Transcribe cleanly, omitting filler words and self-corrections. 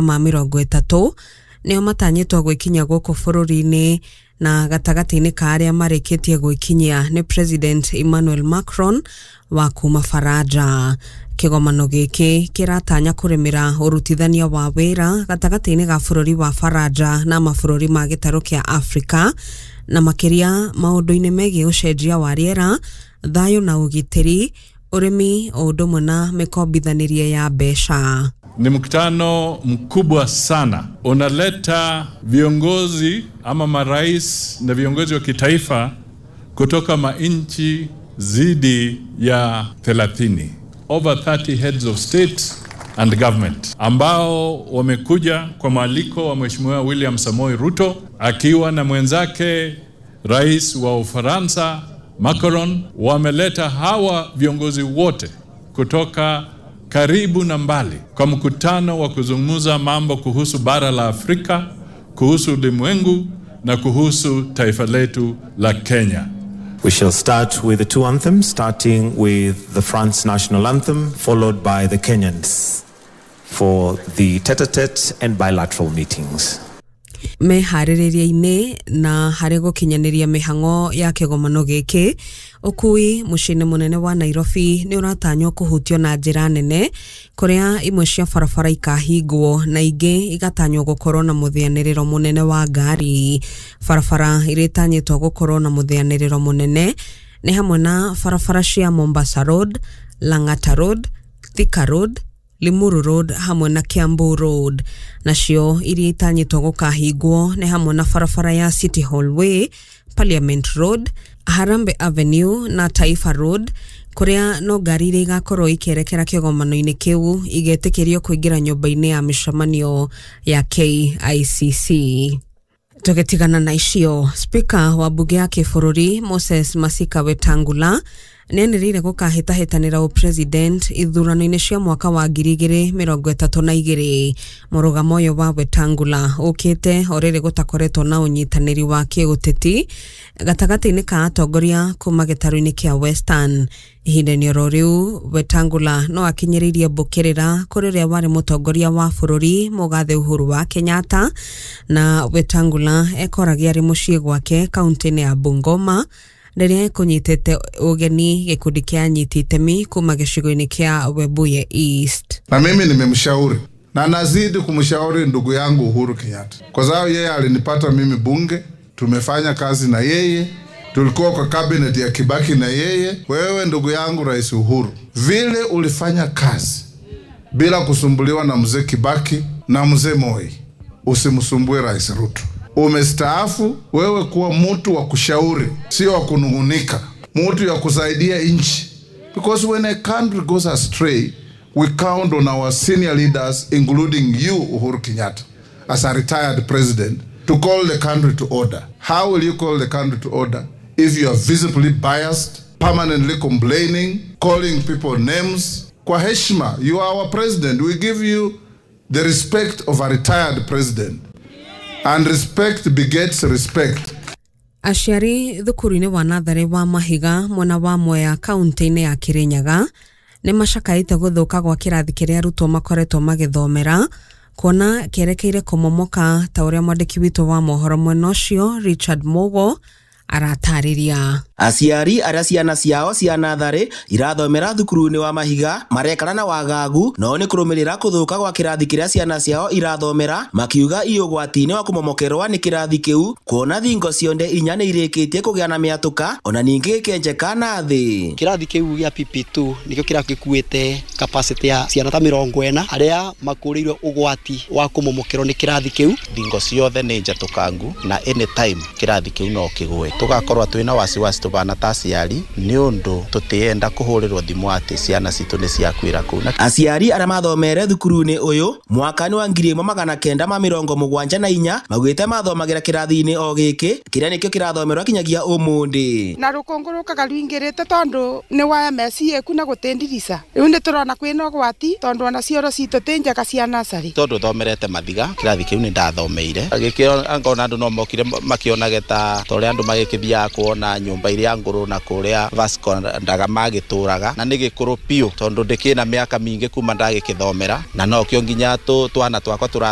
Ma 30 nĩo matanyĩtwo gwĩkinyia gũkũ bũrũri-inĩ, na gatagatĩ-inĩ ka arĩa marĩkĩtie gwĩkinyia nĩ President Emmanuel Macron wa kuma Faranja. Kĩgomano gĩkĩ kĩratanya kũrĩmĩra ũrutithania wa wĩra gatagatĩ-inĩ ga bũrũri wa Faranja na mabũrũri ma gĩtarũ kĩa Afrika, na makĩria maũndũ-inĩ megiĩ ũcenjia wa rĩera, thayũ na ũgitĩri, ũrĩmi, o ũndũ ũmwe na mĩkombithanĩrie ya mbeca. Ni mkutano mkubwa sana, unaleta viongozi ama marais na viongozi wa kitaifa kutoka manchi zidi ya 30, over 30 heads of state and government ambao wamekuja kwa mwaliko wa Mheshimiwa William Samoei Ruto akiwa na mwenzake Rais wa Ufaransa Macron. Wameleta hawa viongozi wote kutoka karibu na mbali kwa mkutano wa kuzungumza mambo kuhusu bara la Afrika, kuhusu ulimwengu na kuhusu taifa letu la Kenya. We shall start with the two anthems, starting with the France national anthem, followed by the Kenyans for the tete-a-tete and bilateral meetings. Meharĩrĩria-inĩ na harĩ gũkinyanĩria mĩhang'o ya kĩgomano gĩkĩ, ũkui mũciĩ-inĩ mũnene wa Nairobi nĩ ũratanywo kũhutio na njĩra nene, kũrĩa imwe cia barabara ikahingwo na ingĩ igatanywo gũkorwo na mũthĩanĩrĩro mũnene wa ngari. Barabara iria itanyĩtwo gũkorwo na mũthĩanĩrĩro mũnene nĩ hamwe na barabara cia Mombasa Road, Lang'ata Road, Thika Road, Limuru Road hamwe na Kiambu Road. Nacio iria itanyĩtwo gũkahingwo nĩ hamwe na barabara ya City Hall Way, Parliament Road, Harambe Avenue na Taifa Road, kũrĩa no ngari iria igakorwo ikĩerekera kĩgomano-inĩ kĩu igetĩkĩrio kũingĩra nyũmba-inĩ ya mĩcemanio ya KICC. Tũgĩtigana na icio, Spika wa mbunge ya kĩbũrũri Moses Masika Wetangula nĩanĩrĩire gũkahĩtahĩtanĩra ũpresident ithurano-inĩ cia mwaka wa 2032. Mũrũgamo ũyũ wa Wetangula ũkĩte o rĩrĩ gũtakoretwo na ũnyitanĩri wa kĩũteti gatagatĩ-inĩ ka atongoria kuma gĩtarũ-inĩ kĩa Western. Ihinda-inĩ oro rĩu, Wetangula no akinyĩrĩirie mbũkĩrĩra kũrĩ ũrĩa warĩ mũtongoria wa bũrũri mũgathe Uhuru wa Kenyatta, na Wetangula ekoragia arĩ mũciĩ gwake kaunti-inĩ ya Bungoma rĩrĩa ekũnyitĩte ũgeni gĩkundi kĩa anyiti itemi kuma gĩcigo-inĩ kĩa Webuye East. Na mimi nimemshauri na nazidi kumshauri ndugu yangu Uhuru Kenyatta, kwa sababu yeye alinipata mimi bunge, tumefanya kazi na yeye, tulikuwa kwa cabinet ya Kibaki na yeye. Wewe ndugu yangu Rais Uhuru, vile ulifanya kazi bila kusumbuliwa na mzee Kibaki na mzee Moi, usimsumbue Rais Ruto. Umestaafu, wewe kuwa mtu wa kushauri, sio wa kunungunika, mtu ya kusaidia nchi. Because when a country goes astray, we count on our senior leaders, including you, Uhuru Kenyatta, as a retired president, to call the country to order. How will you call the country to order if you are visibly biased, permanently complaining, calling people names? Kwa heshima, you are our president. We give you the respect of a retired president. And respect begets respect. Aciari thukuru-inĩ wa natharĩ wa Mahiga mwena wa Mwea kaunti-inĩ ya Kirinyaga nĩ macakaĩte gũthũka gwa kĩrathi kĩrĩa arutwo makoretwo magĩthomera, kuona kĩerekeire kũmomoka, ta ũrĩa mwandĩki witũ wa mohoro mwena ũcio Richard Mugo aratarĩria. Aciari arĩa ciana ciao cia natharĩ irathomera thukuru-inĩ wa Mahiga marekana na wagagu no nĩ kũrũmĩrĩra kũthũka gwa kĩrathi kĩrĩa ciana ciao irathomera, makiuga i ũgwati-inĩ wa kũmomokerwa nĩ kĩrathi kĩu, kuona thingo cionde inya nĩ irĩkĩtie kũgĩa na mĩatũka ona ningĩ gĩkenjeka na thĩ. Kĩrathi kĩu gĩa PP2 nĩkĩo kĩrathi gĩkuĩte capacity ya ciana ta 40 arĩa makũrĩirwo ũgwati wa kũmomokerwo nĩ kĩrathi kĩu. Thingo ciothe nĩ njatũkangu na anytime kĩrathi kĩu no kĩgwe. Tugakorwo twĩna wasiwasi tũbana ta aciari nĩ ũndũ tũtienda kũhũrĩrwo thimũ atĩ ciana citũ nĩ ciakuĩra kũu. Aciari arĩa mathomere thukuru-inĩ ũyũ mwaka-inĩ wa 1974 maugĩte mathomagĩra kĩrathi-inĩ o gĩkĩ kĩrĩa nĩkĩo kĩrathomerwo kinyagia ũmũthĩ. Na rũkũngũ rũkaga rũingĩrĩte tondũ nĩ wa MSc ku na gũtĩndirica rĩu nĩ tũrona kwĩna ũgwati tondũ ona cioro citũ ti njega cia nursery. Tondũ thomerete Mathiga kĩrathi kĩu nĩ ndathomeire gĩkĩo angona andũ no mokire makĩonage ta ũrĩa andũ Ndĩkĩthiaga kuona nyũmba iria ngũrũ na kũrĩa Vasco Ndaga magĩtũraga, na nĩ gĩkũrũ biũ tondũ ndĩkĩna mĩaka mingĩ kuma ndagĩkĩthomera, na nokĩo nginya twana twakwa tũrathoma.